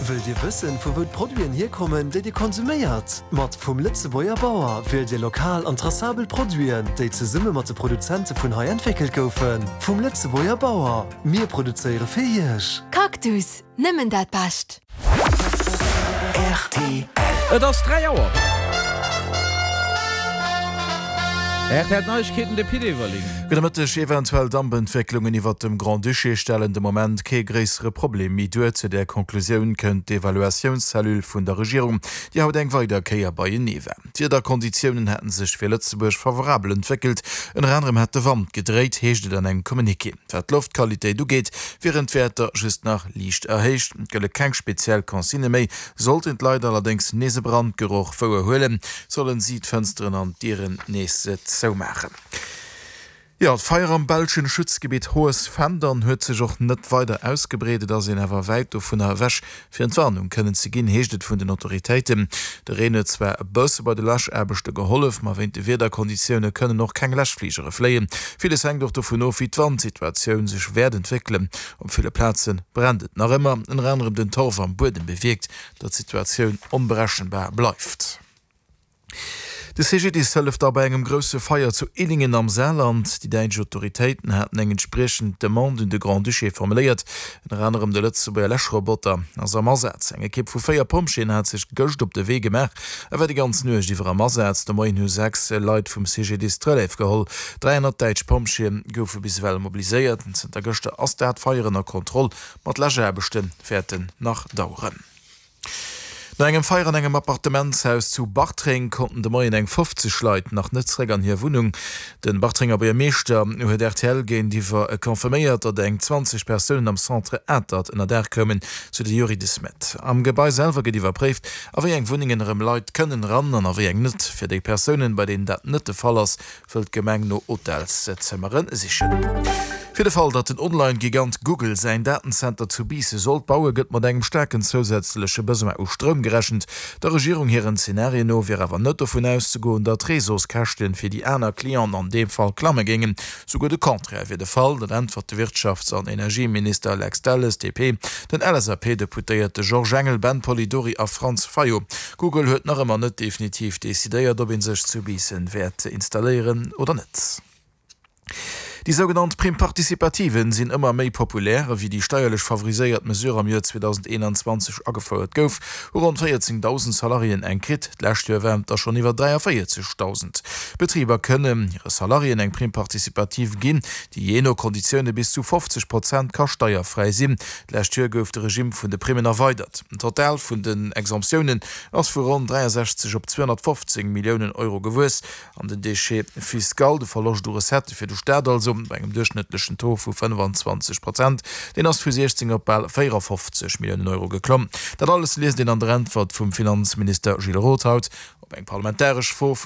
Wëllt Dir wëssen, vu wou d'Produiten hierkommen, déi Dir konsuméiert? Mat Vum Lëtzebuerger Bauer wielt Dir lokal an tracabel Produiten, déi zesumme mat de Produzente vun hei entwéckelt goufen. Vum Lëtzebuerger Bauer, mir produzéiere fir Iech! Cactus, nëmmen dat Bescht! Rtl. Et ass 3 Auer. Rtl Neiegkeeten, de Pit Everling. Gudde Mëtteg. Eventuell Dampentwécklungen iwwert dem Grand-Duché stellen de Moment kee gréissere Problem méi duer. Zu där Conclusioun kënnt d'Evaluatiounscellule vun der Regierung, déi haut eng weider Kéier beienee war. D'Wiederkonditiounen hätte sech fir Lëtzebuerg favorabel entwéckelt, ënner anerem hätt de Wand gedréit, heescht et an engem Communiqué. Wat d'Loftqualitéit ugeet, wieren d'Wäerter just nach liicht erhéicht. Et gëlle keng speziell Consignë méi. Sollten d'Leit allerdéngs nees e Brandgeroch wouer huelen, sollen si d'Fënsteren an d'Dieren nees zoumaachen. Jo, d'Feier am belschen Schutzgebitt Hohes Fendern huet sech och net weider ausgebreet. Et ass een awer wäit dovunner ewech, fir Entwarnung kënnen ze ginn, heescht et vun den Autoritéiten. De Reen huet zwar e bësse bei de Läschaarbechte gehollef, ma wéint de Wiederkonditioune kënnen och keng Läschfligere fléien. Villes hänkt och dovun of, wéi d'Wandsituatioun sech wäert entwéckelen. Op ville Plaze brennt et nach ëmmer, ënner anerem den Torf am Buedem bewierkt, datt d'Situatioun onberechenbar bleift. De CGDIS hëlleft da bei engem grousse Feier zu Illingen am Saarland. Déi däitsch Autoritéiten haten eng entspriechend Demande un de Grand-Duché formuléiert. Ënner anerem de Lëtzebuerger Läschroboter ass am Asaz. Eng Ekipp vu 4 Pompjeeën hat sech gëscht op de Wee gemaach a war déi ganz Nuecht iwwer am Asaz. De Moien hu 6 Leit vum CGDIS d'Relève geholl. 300 däitsch Pompjeeë goufe bis ewell mobiliséiert. Zënter gëschter ass dat Feier ënner Kontroll, ma d'Läschaarbechte wäerten nach daueren. No engem Feier an engem Appartementshaus zu Bartreng konnten de Moien eng 50 Leit nach net zeréck an hir Wunnung. De Bartrenger Buergermeeschter huet rtl géintiwwer confirméiert, datt eng 20 Persounen am Centre Atert ënnerdaach koumen, sou de Youri De Smet. Am Gebai selwer gëtt iwwerpréift, a wéi eng Wunnengen erëm Leit kënnen eran an a wéi eng net. Fir déi Persounen, bei deenen dat net de Fall ass, wëll d'Gemeng no Hotelszëmmere sichen. Fir de Fall, datt den Online-Gigant Google säin Datenzenter zu Biissen sollt bauen, gëtt mat engem staarken zousätzleche Besoin u Stroum gerechent. Der Regierung hiren Zenarien no wier awer net dovun auszegoen, datt d'Réseauskäschte fir déi aner Clienten an deem Fall klamme géingen. Souguer de Contraire wier de Fall. Dat äntwert de Wirtschafts an Energieminister Lex Delles, DP, den LSAP-Deputéierte Georges Engel, Ben Polidori a Franz Fayot. Google huet nach ëmmer net definitiv decidéiert, ob ee sech zu Biissen wäert installéieren oder net. Déi sougenannt Prime participative sinn ëmmer méi populär. Ewéi déi steierlech favoriséiert Mesure am Joer 2021 agefouert gouf, hu ronn 14.000 Salariéen eng kritt. D'lescht Joer waren et der schonn iwwer 43.000. Betriber kënnen hire Salariéen eng Prime participative ginn, déi jee no Konditioune bis zu 50 Prozent ka steierfräi sinn. D'lescht Joer gouf de Regimm vun de Primmen erweidert. Den Total vun den Exemptiounen ass vu ronn 63 op 215 Milliounen Euro gewuess an den Déchet fiscal, de Verloscht u Recettë fir de Staat also, bei engem duerchschnëttlechen Taux vu 25 Prozent, deen ass vu 16 op bal 54 Milliounen Euro geklomm. Dat alles liest een an der Äntwert vum Finanzminister Gilles Roth haut op eng parlamentaresch Fro vun.